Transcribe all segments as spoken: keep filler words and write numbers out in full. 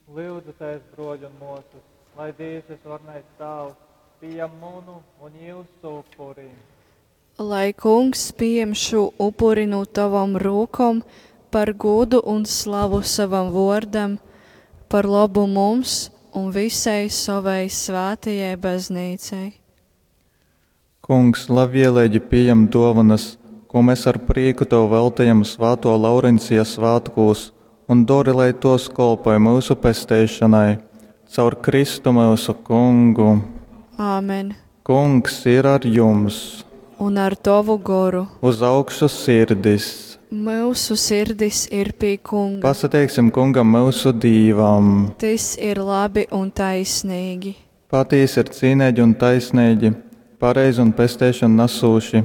Lyudzitēs, bruoļi un muosys, lai Dīvs Vysvarenais Tāvs pījam munu un jiusu upuri. Lai Kungs pījam šū upuri nu tavom rūkom par gūdu un slavu sovam vuordam, par lobu mums un visai sovai svātajai Baznīcai. Kungs, labvieleigi pījam duovanas, kū mes ar prīku tev veltejam svātuo Laurencija svātkūs un dori, lai tuos kolpoj myusu pesteišonai. Caur Kristu myusu Kungu. Āmen. Kungs ir ar jums! Un ar tovu goru. Uz augšu sirdis! Myusu sirdis ir pie Kunga. Pasateiksim Kungam myusu Dīvam! Tys ir labi un taisneigi. Patīsi ir cīneigi un taisneigi, pareizi un pesteišonu nasūši,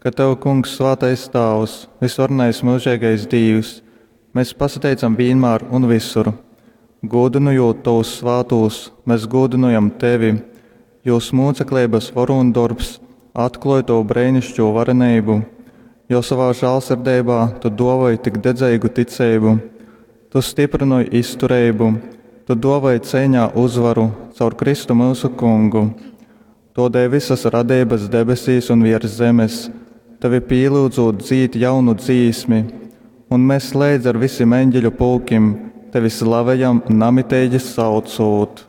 ka tev, Kungs, svātais Tāvs, vysvarenais myužeigais Dīvs, mes pasateicam vīnmār un vysur. Gūdynojūt tovus svātūs, mes gūdynojam tevi, jūs mūcekleibas vorūndorbs atklōj tovu breiniškū vareneibu, jo sovā žālsirdeibā tu dōvoj tik dedzeigu ticeibu, tu styprynoj iztureibu, tu dōvoj ceiņā uzvaru caur Kristu myusu Kungu. Tōdēļ vysas radeibas debesīs un viers zemes tevi pīlyudzūt dzīd jaunu dzīsmi, un mes leidz ar visim eņģeļu pulkim tevi slavejam namiteigi saucūt.